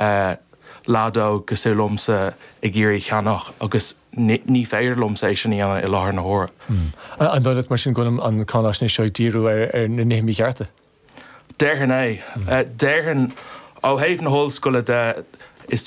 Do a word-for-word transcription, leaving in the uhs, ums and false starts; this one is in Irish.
uh, leaid óg cosúil liomsa ag iarraidh ceannach agus ní féidir liomsa é sin i láthair na huaire. Hmm. An dóigh mar sin go bhfuil an cháinaisnéis seo ag díriú ar ar na nithe míchearta? Déarfainn é. Hmm. Déarfainn ó thaobh na hollscoile de is